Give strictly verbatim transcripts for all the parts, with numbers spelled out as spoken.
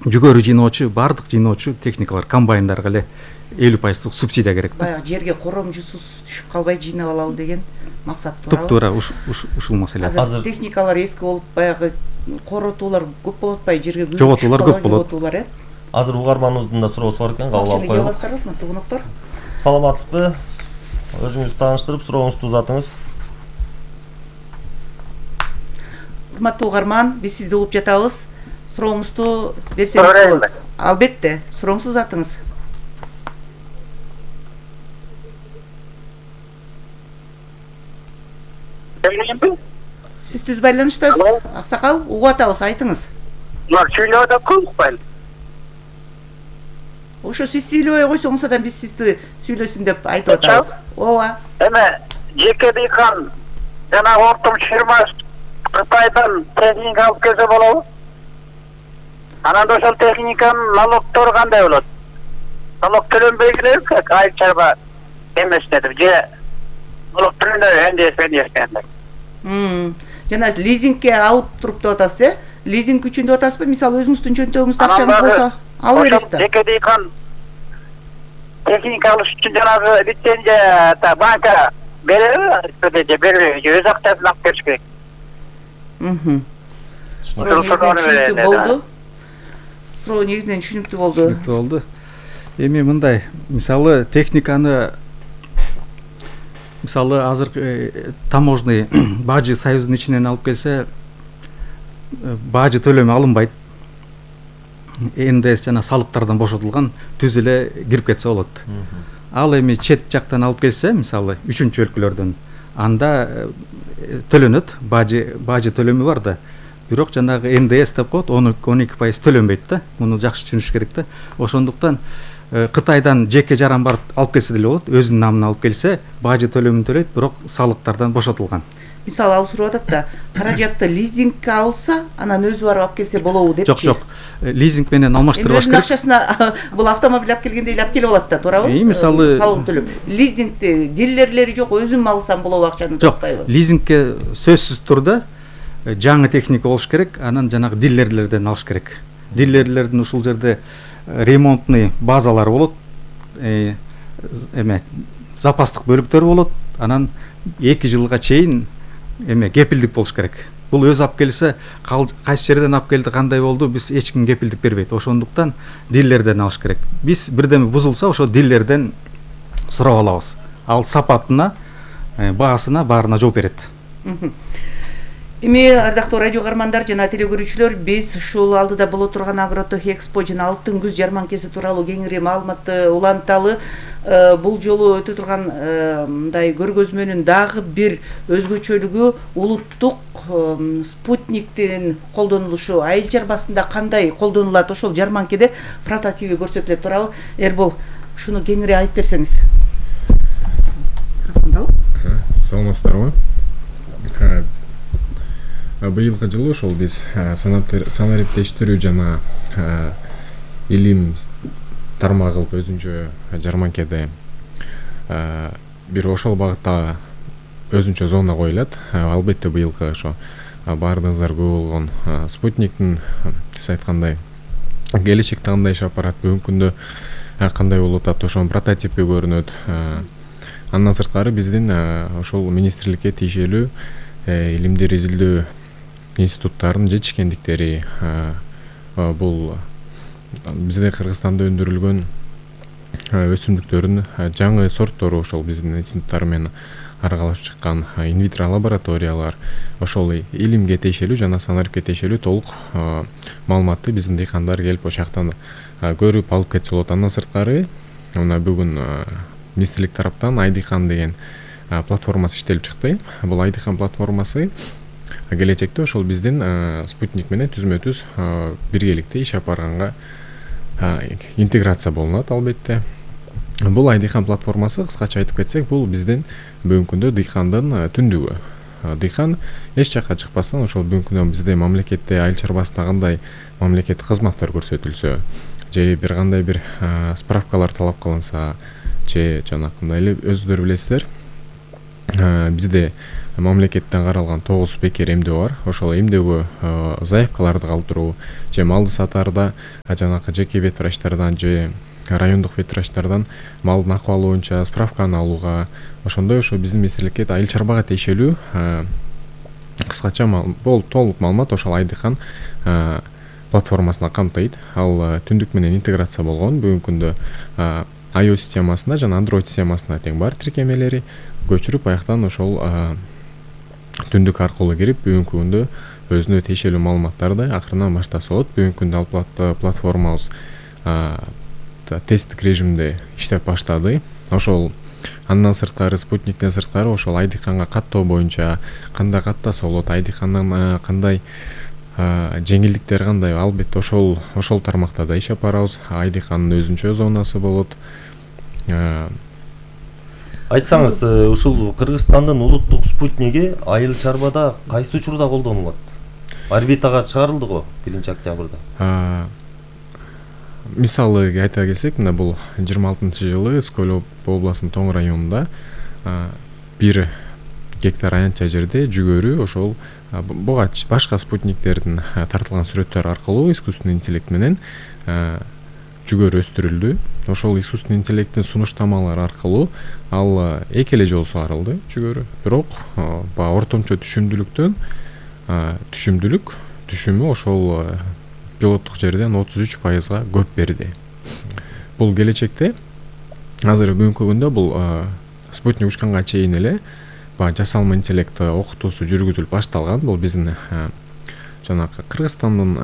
жүгөрү жыйноочу баардык жыйноочу техникалар комбайндарга эле элүү пайыздык субсидия керек да. Баягы жерге коромжусуз түшүп калбай жыйнап алалы деген максат туурабы? Туптуура ушул маселе. Азыр техникалар эски болуп баягы коротуулар көп болуп атпайбы, жерге күзүп жоготуулар көп болот. Жоготуулар э. Азыр угарманыбыздын да суроосу бар экен, кабыл алып коелу. Урматтуу коноктор. Саламатсызбы? Өзүңүздү тааныштырып, сурооңузду узатыңыз. Урматтуу угарман, биз сизди угуп жатабыз. Сурооңузду берсеңиз болот. Албетте, сурооңузду узатыңыз. Сиз түз байланыштасыз, аксакал, угуп атабыз, айтыңыз. Мына сүйлөп атат-ку, укпайм. Ошо сиз сүйлөбөй койсоңуз адам биз сизди сүйлөсүн деп айтып атабыз. Ооба. Эме жеке дыйкан жанагы ортомчу фирма Кытайдан техника алып келсе болобу? Анан ошол техниканын налогтору кандай болот? Налог төлөнбөйгүлөр айыл чарба эмесине деп же налог төлөнбөй эмне Мм. Жана лизингке алып туруп деп атасыз, э? Лизинг үчүн деп атасызбы? Мисалы өзүңүздүн чөнтөгүңүздө акчаңыз болсо, алып бересиз да. Жеке дыйкан техника алыш үчүн жанагы лицензия та банка береби, же бербейби, же өз акчасын алып келиш керек. Мм. Суроо түшүнүктүү болду. Суроо негизинен түшүнүктүү болду. Түшүнүктүү болду. Эми мындай, мисалы техниканы мисалы азыр таможный бажы союзунун ичинен алып келсе бажы төлөмү алынбайт. эн дэ эс жана салыктардан бошотулган түз эле кирип кетсе болот. Ал эми чет жактан алып келсе, мисалы үчүнчү өлкөлөрдөн, анда төлөнөт, бажы бажы төлөмү бар да. Бирок жанагы эн дэ эс деп коет, он эки пайыз төлөнбөйт да. Муну жакшы түшүнүш керек да. Ошондуктан Кытайдан жеке жаран барып алып келсе деле болот, өзүнүн намына алып келсе, бажы төлөмүн төлөйт, бирок салыктардан бошотулган. Мисалы ал сурап атат да, каражатты лизингке алса, анан өзү барып алып келсе болобу депчи. Жок, жок. Лизинг менен алмаштырбаш керек. Өзүнүн акчасына бул автомобиль алып келгенде эле алып келип алат да, туурабы? Мисалы салык төлөп. Лизингди дилерлери жок, өзүм алсам болобу акчаны таппайбы? Жок, лизингке сөзсүз турда жаңы техника болуш керек, анан жанагы дилерлерден алыш керек. Дилерлердин ушул жерде ремонтный базалары болот, эме запастык бөлүктөр болот, анан эки жылга чейин эме кепилдик болуш керек. Бул өзү алып келсе, кайсы жерден алып келди, кандай болду, биз эч ким кепилдик бербейт. Ошондуктан дилерден алыш керек. Биз бирдеме бузулса, ошо дилерден сурап алабыз. Ал сапатына, баасына, баарына жооп берет. Эми ардактуу радио угармандар жана теле көрүүчүлөр, биз ушул алдыда боло турган Агротех Экспо жана Алтын күз жарманкеси тууралуу кеңири маалыматты уланталы. Бул жолу өтө турган мындай көргөзмөнүн дагы бир өзгөчөлүгү улуттук спутниктин колдонулушу. Айыл чарбасында кандай колдонулат, ошол жарманкеде прототиби көрсөтүлөт туурабы? Эрбол, ушуну кеңири айтып берсеңиз. Саламатсыздарбы? Быйылкы жылы ошол биз санариптештирүү жана илим тармагы кылып өзүнчө жарманкеде бир ошол багытта өзүнчө зона коюлат. Албетте быйылкы ошо баарыңыздар күбө болгон спутниктин сиз айткандай келечекте кандай иш апарат, бүгүнкү күндө кандай болуп атат, ошонун прототипи көрүнөт. Андан сырткары биздин ошол министрликке тиешелүү илимдер изилдөө институттардын жетишкендиктери, бул бизде Кыргызстанда өндүрүлгөн өсүмдүктөрдүн жаңы сорттору ошол биздин институттар менен аралашып чыккан инвитро лабораториялар, ошол илимге тиешелүү жана санарипке тиешелүү толук маалыматты биздин дыйкандар келип ошол жактан көрүп алып кетсе болот. Андан сырткары мына бүгүн министрлик тараптан Айдыйкан деген платформасы иштелип чыкты. Бул Айдыйкан платформасы келечекте ошол биздин спутник менен түзмө-түз биргеликте иш апарганга интеграция болунат. Албетте бул Айдыйкан платформасы, кыскача айтып кетсек, бул биздин бүгүнкү күндө дыйкандын түндүгү. Дыйкан эч жакка чыкпастан ошол бүгүнкү күндө бизде мамлекетте айыл чарбасында кандай мамлекеттик кызматтар көрсөтүлсө, же бир кандай бир справкалар талап кылынса, же жанакындай эле өзүңүздөр билесиздер, бизде мамлекеттен каралган тогуз бекер эмдөө бар. Ошол эмдөөгө заявкаларды калтыруу же малды сатаарда жанагы жеке ветврачтардан же райондук ветврачтардан малдын акыбалы боюнча справканы алууга, ошондой ошо биздин министрликке айыл чарбага тиешелүү кыскача толук маалымат ошол Айдыкан платформасына камтыйт. Ал түндүк менен интеграция болгон. Бүгүнкү күндө iOS системасында жана Android системасына тең бар тиркемелери. Көчүрүп аяктан ошол түндүк аркылуу кирип бүгүнкү күндө өзүнө тиешелүү маалыматтарды акырынан баштаса болот. Бүгүнкү күндө ал платформабыз тесттик режимде иштеп баштады. Ошол андан сырткары спутниктен сырткары ошол Айдыканга каттоо боюнча кандай каттаса болот, Айдыкандан кандай жеңилдиктер кандай, албетте ошол ошол тармакта да иштеп барабыз. Айдыкандын өзүнчө зонасы болот. Айтсаңыз, ушул Кыргызстандын улуттук спутниги айыл чарбада кайсы учурда колдонулат? Орбитага чыгарылды го биринчи октябрда. Мисалы айта келсек, мына бул жыйырма алтынчы жылы Скөл областынын Тоң районунда бир гектар аянтча жерде жүгөрү ошол буга башка спутниктердин тартылган сүрөттөр аркылуу искусственный интеллект менен жүгөрү өстүрүлдү. Ошол искусственный интеллекттин сунуштамалары аркылуу ал эки эле жолу сугарылды жүгөрү. Бирок баягы ортомчо түшүмдүүлүктөн түшүмдүүлүк түшүмү ошол пилоттук жерден отуз үч пайызга көп берди. Бул келечекте азыр бүгүнкү күндө бул спутник учканга чейин эле баягы жасалма интеллект окутуусу жүргүзүлүп башталган. Бул биздин жанагы Кыргызстандын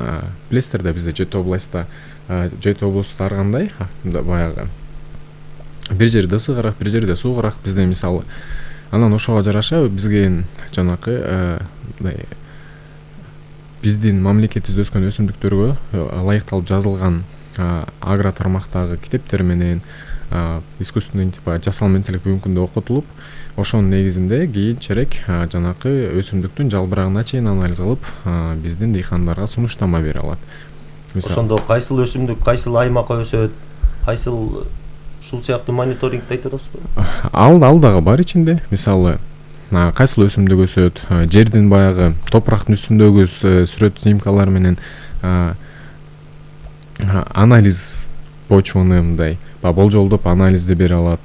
билесиздер да, бизде жети областта жети областта ар кандай баягы бир жерде ысыгыраак, бир жерде суугураак. Бизде мисалы анан ошого жараша бизге жанагы биздин мамлекетибизде өскөн өсүмдүктөргө ылайыкталып жазылган агро тармактагы китептер менен искусственный жасалма интеллект бүгүнкү күндө окутулуп, ошонун негизинде кийинчерээк жанакы өсүмдүктүн жалбырагына чейин анализ кылып биздин дыйкандарга сунуштама бере алат. Ошондо кайсыл өсүмдүк кайсыл аймакка өсөт, кайсыл ушул сыяктуу мониторингди айтып атасызбы? Ал ал дагы бар ичинде. Мисалы кайсыл өсүмдүк өсөт, жердин баягы топурактын үстүндөгү сүрөт снимкалар менен анализ почваны мындай болжолдоп анализди бере алат.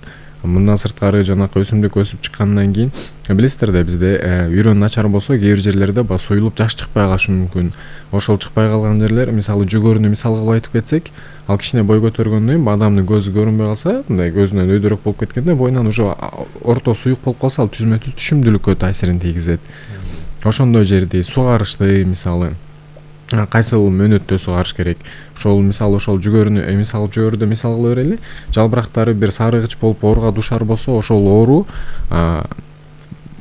Мындан сырткары жанакы өсүмдүк өсүп чыккандан кийин билесиздер да, бизде үйрөн начар болсо кээ бир жерлерде ба союлуп жаш чыкпай калышы мүмкүн. Ошол чыкпай калган жерлер, мисалы жүгөрүнү мисал кылып айтып кетсек, ал кичине бой көтөргөндөн кийин адамдын көзү көрүнбөй калса, мындай көзүнөн өйдөрөөк болуп кеткенде боюнан уже орто суюк болуп калса, ал түзмө түз түшүмдүүлүккө таасирин тийгизет. Ошондой жерди сугарышты мисалы кайсыл мөөнөттө сугарыш керек. Ошол мисалы ошол жүгөрүнү мисал жүгөрүдө мисал кыла берели. Жалбырактары бир сарыгыч болуп ооруга душар болсо, ошол оору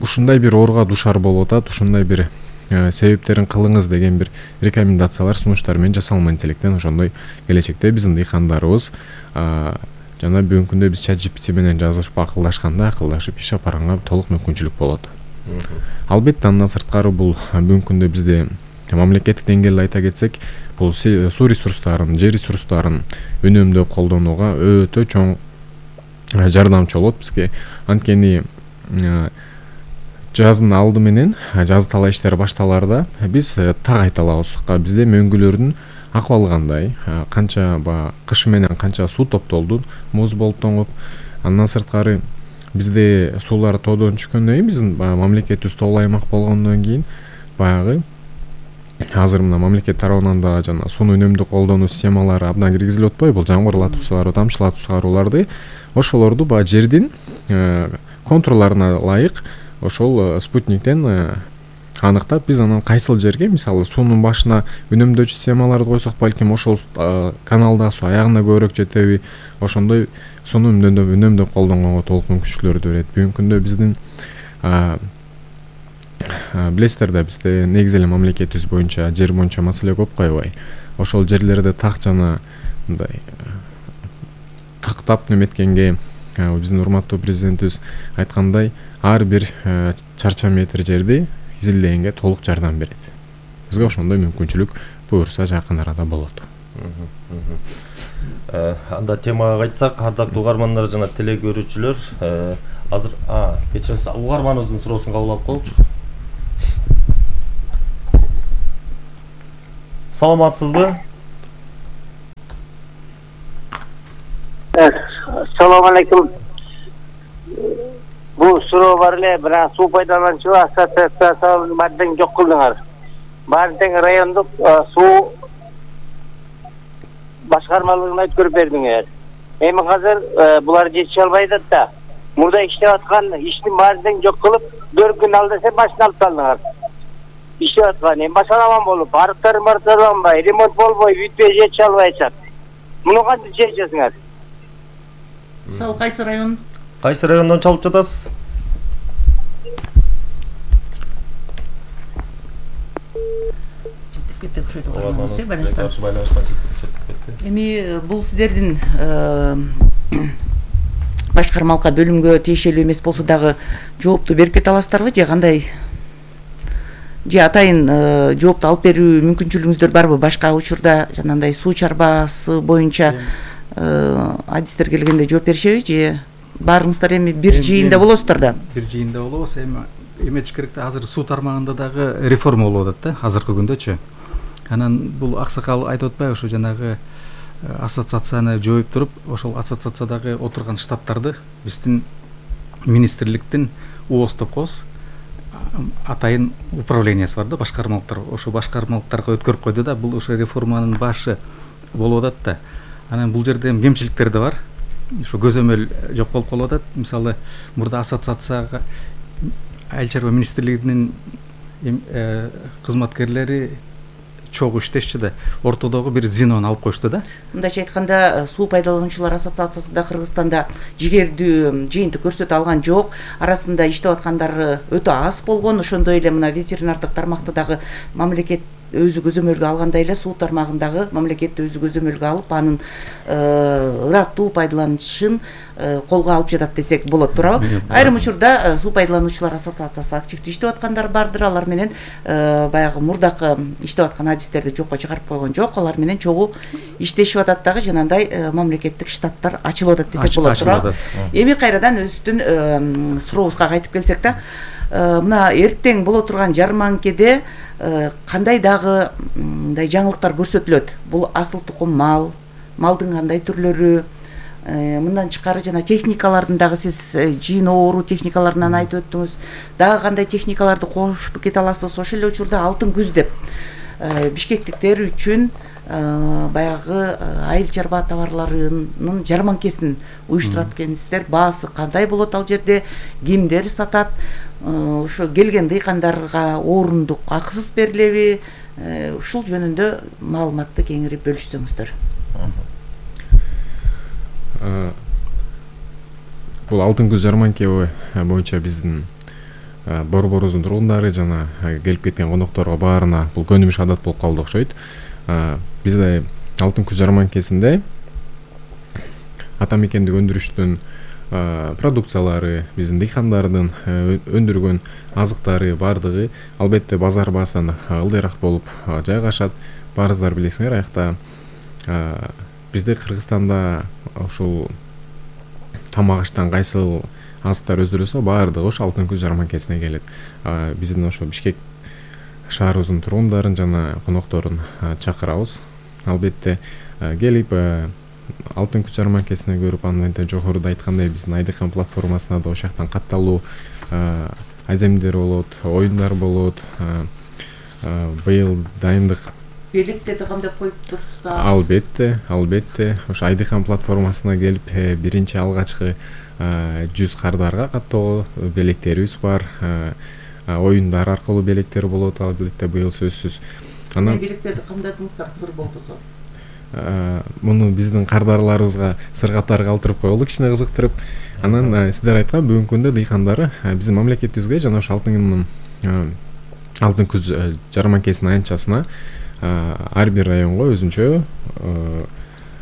ушундай бир ооруга душар болуп атат, ушундай бир себептерин кылыңыз деген бир рекомендациялар, сунуштар менен жасалма интеллекттен ошондой келечекте биздин дыйкандарыбыз жана бүгүнкү күндө биз чат джи пи ти менен жазышып акылдашканда акылдашып иш алып барганга толук мүмкүнчүлүк болот. Албетте андан сырткары бул бүгүнкү күндө бизде мамлекеттик деңгээлде айта кетсек, бул суу ресурстарын, жер ресурстарын үнөмдөп колдонууга өтө чоң жардамчы болот бизге. Анткени жаздын алды менен жаз талаа иштери башталаарда биз так айта алабыз. Бизде мөңгүлөрдүн акыбалы кандай, канча ба кыш менен канча суу топтолду, муз болуп тоңуп. Андан сырткары бизде суулар тоодон түшкөндөн кийин, биздин мамлекетибиз тоолуу аймак болгондон кийин баягы азыр мына мамлекет тарабынан да жана сууну үнөмдүү колдонуу системалары абдан киргизилип атпайбы? Бул жамгырлатып сугаруу, тамчылатып сугарууларды, ошолорду баягы жердин контурларына ылайык ошол спутниктен аныктап, биз анан кайсыл жерге мисалы суунун башына үнөмдөөчү системаларды койсок, балким ошол каналда суу аягына көбүрөөк жетеби, ошондой сууну үнөмдөп үнөмдөп колдонгонго толук мүмкүнчүлүктөрдү берет. Бүгүнкү күндө биздин билесиздер да, бизде негизи эле мамлекетибиз боюнча жер боюнча маселе көп койбой. Ошол жерлерде так жана мындай тактап неметкенге биздин урматтуу президентибиз айткандай, ар бир чарча метр жерди изилдегенге толук жардам берет. Бизге ошондой мүмкүнчүлүк буюрса жакын арада болот. Анда темага кайтсак, ардактуу угармандар жана теле көрүүчүлөр, азыр кечиресиз, угарманыбыздын суроосун кабыл алып коелучу. Саламатсызбы? Assalomu alaykum. Bu suroo бар эле, бирок суу пайдалануучулар ассоциациясын бардын жок кылдыңар. Бардын райондук суу башкармалыгына өткөрүп бердиңер. Эми азыр булар жетише албайт да. Мурда иштеп аткан иштин баарын жок кылып, төрт күн ал десе машина алып салдыңар. Иштеп аткан, эми башаламан болуп, арыктар марталанбай, ремонт болбой, бүтпөй жетише албайсат. Муну кантип чечесиңер? Мисалы кайсы район? Кайсы райондон чалып жатасыз? Кетип ошойду кармаңыз, байланыштан. Байланыштан четтеп кетти. Эми бул сиздердин башкармалыкка бөлүмгө тиешелүү эмес болсо дагы жоопту берип кете аласыздарбы же кандай? Же атайын жоопту алып берүү мүмкүнчүлүгүңүздөр барбы? Башка учурда жанагындай суу чарбасы боюнча адистер келгенде жооп беришеби же баарыңыздар эми бир жыйында болосуздар да? Бир жыйында болобуз. Эми эметиш керек да, азыр суу тармагында дагы реформа болуп атат да, азыркы күндөчү. Анан бул аксакал айтып атпайбы, ушу жанагы ассоциацияны жооп туруп, ошол ассоциациядагы отурган штаттарды биздин министрликтин ООС деп коебуз, атайын управлениясы бар да, башкармалыктар. Ошо башкармалыктарга өткөрүп койду да, бул ошо реформанын башы болуп атат да. Анан бул жерде кемчиликтер да бар. Ошо көзөмөл жок болуп калып атат. Мисалы, мурда ассоциацияга Айыл чарба министрлигинин кызматкерлери чогуу иштешчү да, ортодогу бир звенону алып коюшту да. Мындайча айтканда, суу пайдалануучулар ассоциациясы да Кыргызстанда жигердүү жыйынтык көрсөтө алган жок. Арасында иштеп аткандар өтө аз болгон. Ошондой эле мына ветеринардык тармакты дагы мамлекет өзү көзөмөлгө алгандай эле суу тармагындагы мамлекет өзү көзөмөлгө алып, анын ыраттуу пайдаланышын колго алып жатат десек болот, туурабы? Айрым учурда суу пайдалануучулар ассоциациясы активдүү иштеп аткандар бардыр. Алар менен баягы мурдакы иштеп аткан адистерди жокко чыгарып койгон жок. Алар менен чогуу иштешип атат дагы, жанагындай мамлекеттик штаттар ачылып атат десек болот, туурабы? Эми кайрадан өзүбүздүн сурообузга кайтып келсек да, мына эртең боло турган жарманкеде кандай дагы мындай жаңылыктар көрсөтүлөт? Бул асыл тукум мал, малдын кандай түрлөрү, мындан тышкары жана техникалардын дагы сиз жыйын оору техникаларынан айтып өттүңүз. Дагы кандай техникаларды кошуп кете аласыз? Ошол эле учурда алтын күз деп бишкектиктер үчүн баягы айыл чарба товарларынын жарманкесин уюштурат экенсиздер. Баасы кандай болот ал жерде? Кимдер сатат? Ошо келген дыйкандарга орундук акысыз берилеби? Ушул жөнүндө маалыматты кеңири бөлүшсөңүздөр. Бул алтын күз жарманке боюнча биздин Борборубуздун тургундары жана келип кеткен конокторго баарына бул көнүмүш адат болуп калды окшойт. Бизде алтын күз жарманкесинде ата мекендик өндүрүштүн продукциялары, биздин дыйкандардын өндүргөн азыктары бардыгы албетте базар баасынан ылдыйраак болуп жайгашат. Баарыңыздар билесиңер, аякта бизде Кыргызстанда ушул тамак аштан кайсыл азыктар өздүрүлсө, баардыгы ошо алтын күз жарманкесине келет. Биздин ошо Бишкек шаарыбыздын тургундарын жана конокторун чакырабыз. Албетте келип алтын күз жарманкесине көрүп, андан да жогоруда айткандай биздин Айдыкан платформасына да ошол жактан катталуу айземдер болот, оюндар болот. Быйыл дайындык Белектерди камдап коюп турсуздар? Албетте, албетте. Ошо Айдыкан платформасына келип биринчи алгачкы жүз кардарга каттоого белектерибиз бар. Оюндар аркылуу белектер болот, албетте быйыл сөзсүз. Анан белектерди камдадыңыздар, сыр болбосо? Муну биздин кардарларыбызга сыр катары калтырып коелу, кичине кызыктырып. Анан сиздер айткан бүгүнкү күндө дыйкандары биздин мамлекетибизге жана ошо алтын алтын күз жарманкесинин аянтчасына ар бир районго өзүнчө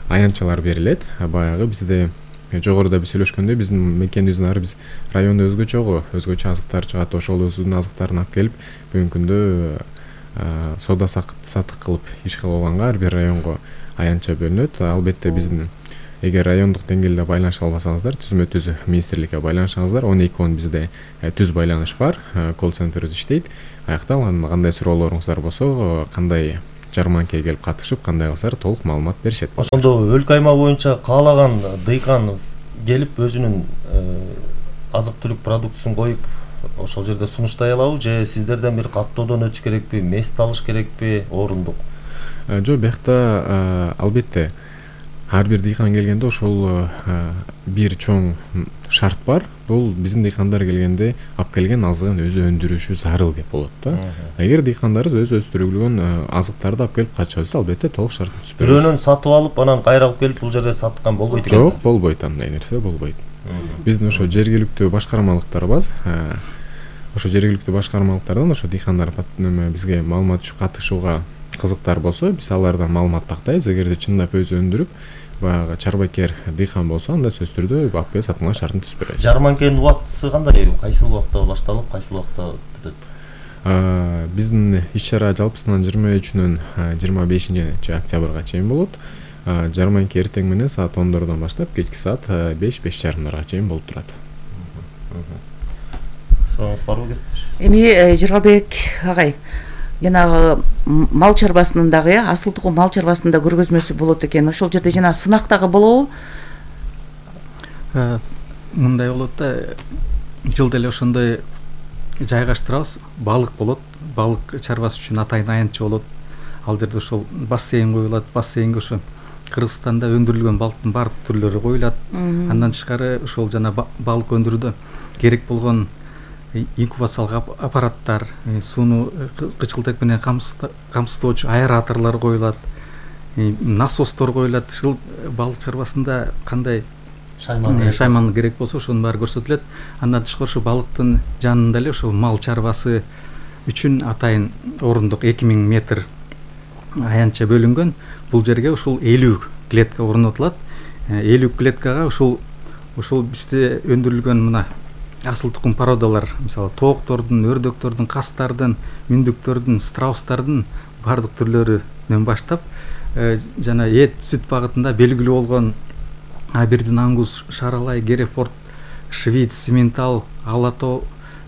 аянтчалар берилет. Баягы бизде жогоруда биз сүйлөшкөндө биздин мекенибиздин ар биз райондо өзгөчөгө, өзгөчө азыктар чыгат. Ошол өзүнүн азыктарын алып келип бүгүнкү күндө соода сатык кылып иш кылып алганга ар бир районго аянтча бөлүнөт. Албетте биздин эгер райондук деңгээлде байланыша албасаңыздар, түзмө түз министрликке байланышыңыздар. он эки он бизде түз байланыш бар, колл-центрибиз иштейт. Аякта кандай суроолоруңуздар болсо, кандай жарманкеге келип катышып, кандай кылсалар толук маалымат беришет. Ошондо өлкө аймак боюнча каалаган дыйкан келип өзүнүн азык-түлүк продуктусун коюп ошол жерде сунуштай алабы же сиздерден бир каттоодон өтүш керекпи, мест алыш керекпи, орундук? Жок, биякта албетте ар бир дыйкан келгенде ошол бир чоң шарт бар. Бул биздин дыйкандар келгенде алып келген азыгын өзү өндүрүшү зарыл деп болот да. Эгер дыйкандарыбыз өз өстүрүлгөн азыктарды алып келип катышса, албетте толук шартын түзүп беребиз. Бирөөнөн сатып алып, анан кайра алып келип бул жерде саткан болбойт экен. Жок, болбойт, андай нерсе болбойт. Биздин ошо жергиликтүү башкармалыктар бар. Ошо жергиликтүү башкармалыктардан ошо дыйкандар бизге маалымат түшүп катышууга кызыктар болсо, биз алардан маалымат тактайбыз. Эгерде чындап өзү өндүрүп, баягы чарбакер дыйкан болсо, анда сөзсүз түрдө алып келип сатууга шартын түзүп беребиз. Жарманкенин убактысы кандай? Кайсыл убакта башталып, кайсыл убакта бүтөт? Биздин иш-чара жалпысынан жыйырма үчүнөн жыйырма бешинчи октябрга чейин болот. Жарманке эртең менен саат ондордон баштап кечки саат беш беш жарымдарга чейин болуп турат. Сурооңуз барбы кесиптеш? Эми Жыргалбек агай, жанагы мал чарбасынын дагы асыл тукум мал чарбасынын да көргөзмөсү болот экен. Ошол жерде жана сынак дагы болобу? Мындай болот да, жылда эле ошондой жайгаштырабыз. Балык болот. Балык чарбасы үчүн атайын аянтча болот. Ал жерде ошол бассейн коюлат. Бассейнге ошо Кыргызстанда өндүрүлгөн балыктын баардык түрлөрү коюлат. Андан тышкары ошол жана балык өндүрүүдө керек болгон инкубациялык аппараттар, сууну кычкылтек менен камсыздоочу аэраторлор коюлат, насостор коюлат. Ушул балык чарбасында кандай шайман керек болсо ошонун баары көрсөтүлөт. Андан тышкары ошо балыктын жанында эле ошо мал чарбасы үчүн атайын орундук эки миң метр аянтча бөлүнгөн. Бул жерге ушул элүү клетка орнотулат. элүү клеткага ушул ушул бизде өндүрүлгөн мына асыл тукум породалар, мисалы тооктордун, өрдөктөрдүн, кастардын, мүндүктөрдүн, страустардын баардык түрлөрүнөн баштап жана эт, сүт багытында белгилүү болгон Абердин, Ангус, Шаралай, Герефорд, Швиц, Симентал, Алато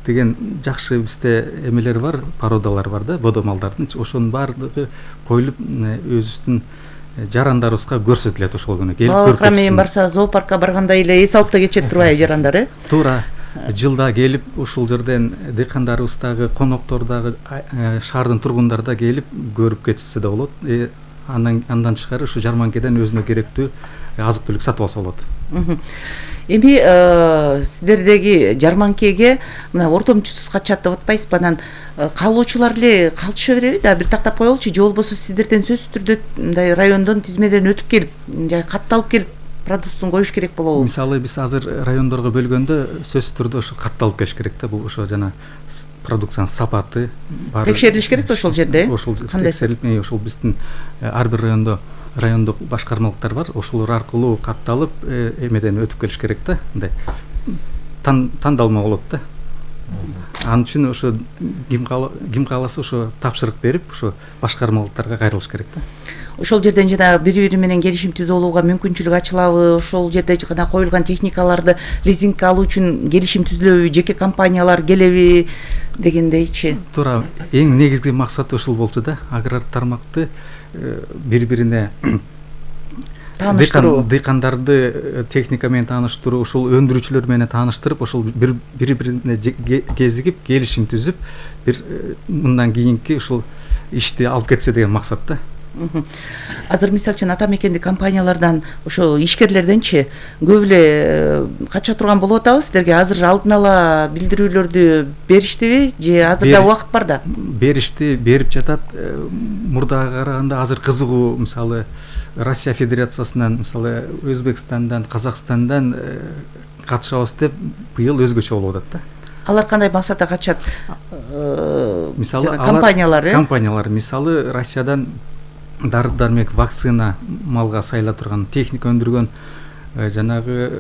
деген жакшы бизде эмелер бар, породалар бар да, бодо малдардын. Ошонун баардыгы коюлуп өзүбүздүн жарандарыбызга көрсөтүлөт ошол күнү. Келип көрүп кетсин. Менен барса зоопаркка барганда эле эс алып да кетет турбайбы жарандар, э? Туура. Жылда келип ушул жерден дыйкандарыбыз дагы, коноктор дагы, шаардын тургундары да келип көрүп кетсе да болот. Андан андан тышкары ушу жарманкеден өзүнө керектүү азык-түлүк сатып алса болот. Эми сиздердеги жарманкеге мына ортомчусуз качат деп атпайсызбы? Анан каалоочулар эле калтыша береби да, бир тактап коелучу, же болбосо сиздерден сөзсүз түрдө мындай райондон тизмеден өтүп келип, катталып келип продуктусун коюш керек болобу? Мисалы биз азыр райондорго бөлгөндө сөзсүз түрдө ошо катталып келиш керек да. Бул ошо жана продукциянын сапаты баары текшерилиш керек да ошол жерде. Ошол текшерилип, ошол биздин ар бир райондо райондук башкармалыктар бар. Ошолор аркылуу катталып эмеден өтүп келиш керек да. Мындай тандалма болот да. Ал үчүн ошо ким кааласа ошо тапшырык берип, ошо башкармалыктарга кайрылыш керек да. Ошол жерден жана бири бири менен келишим түзүп алууга мүмкүнчүлүк ачылабы? Ошол жерде гана коюлган техникаларды лизингке алуу үчүн келишим түзүлөбү? Жеке компаниялар келеби дегендейчи? Туура. Эң негизги максаты ушул болчу да. Аграр тармакты бири-бирине тааныштыруу, дыйкандарды техника менен тааныштыруу, ушул өндүрүүчүлөр менен тааныштырып, ошол бири-бирине кезигип, келишим түзүп, бир мындан кийинки ушул ишти алып кетсе деген максат да. Азыр мисалы үчүн ата мекендик компаниялардан, ошо ишкерлерденчи көп эле кача турган болуп атабы сиздерге? Азыр алдын ала билдирүүлөрдү бериштиби же азыр да убакыт бар да? Беришти, берип жатат. Мурдага караганда азыр кызыгуу, мисалы Россия Федерациясынан, мисалы Өзбекстандан, Казакстандан катышабыз деп быйыл өзгөчө болуп атат да. Алар кандай максатта качат? Мисалы компаниялар, э? Компаниялар, мисалы Россиядан дары-дармек, вакцина, малга сайыла турган техника өндүргөн, жанагы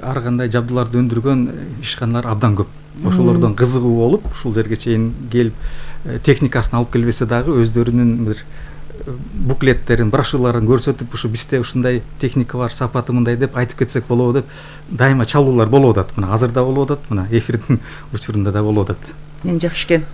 ар кандай жабдууларды өндүргөн ишканалар абдан көп. Ошолордон кызыгуу болуп, ушул жерге чейин келип техникасын алып келбесе дагы өздөрүнүн бир буклеттерин, брошюраларын көрсөтүп, ушу бизде ушундай техника бар, сапаты мындай деп айтып кетсек болобу деп дайыма чалуулар болуп атат. Мына азыр да болуп атат, мына эфирдин учурунда да болуп атат. Эң жакшы экен.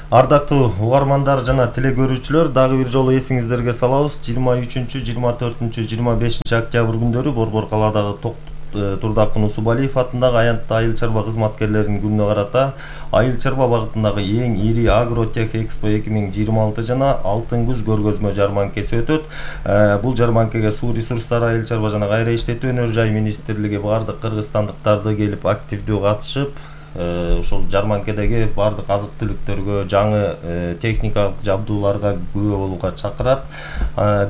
Ардактуу угармандар жана телегөрүүчүлөр, дагы бир жолу эсиңиздерге салабыз, жыйырма үчүнчү, жыйырма төртүнчү, жыйырма бешинчи октябрь күндөрү Борбор калаадагы Турдакын Усубалиев атындагы аянттуу айыл чарба кызматкерлеринин күнүнө карата айыл чарба багытындагы эң ири Агротех Экспо эки миң жыйырма алты жана Алтын күз көргөзмө жарманкеси өтөт. Бул жарманкеге Суу ресурстары, айыл чарба жана кайра иштетүү өнөр жай министрлиги бардык кыргызстандыктарды келип активдүү катышып, ошол жарманкедеги бардык азык түлүктөргө, жаңы техникалык жабдууларга күбө болууга чакырат.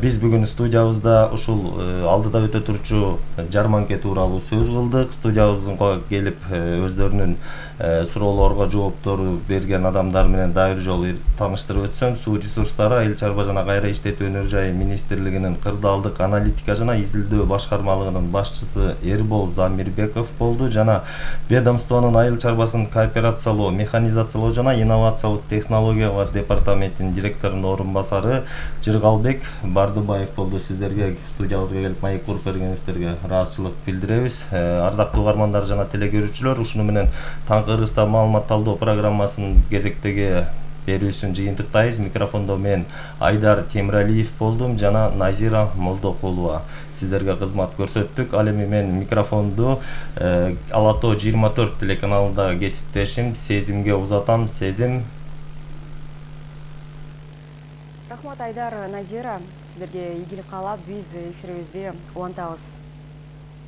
Биз бүгүн студиябызда ушул алдыда өтө турчу жарманке тууралуу сөз кылдык. Студиябызга келип өздөрүнүн суроолорго жооптору берген адамдар менен дагы бир жолу тааныштырып өтсөм, Суу ресурстары, айыл чарба жана кайра иштетүү өнөр жай министрлигинин кырдаалдык аналитика жана изилдөө башкармалыгынын башчысы Эрбол Замирбеков болду жана ведомствонун айыл чарбасын кооперациялоо, механизациялоо жана инновациялык технологиялар департаментинин директорунун орун басары Жыргалбек Бардыбаев болду. Сиздерге студиябызга келип маек куруп бергениңиздерге ыраазычылык билдиребиз. Ардактуу угармандар жана телегөрүүчүлөр, ушуну менен Таңкы Кыргызстан маалымат талдоо программасынын кезектеги берүүсүн жыйынтыктайбыз. Микрофондо мен Айдар Темиралиев болдум жана Назира Молдокулова сиздерге кызмат көрсөттүк. Ал эми мен микрофонду Ала Тоо жыйырма төрт телеканалындагы кесиптешим Сезимге узатам. Сезим. Рахмат Айдар, Назира, сиздерге ийгилик каалап, биз эфирибизди улантабыз.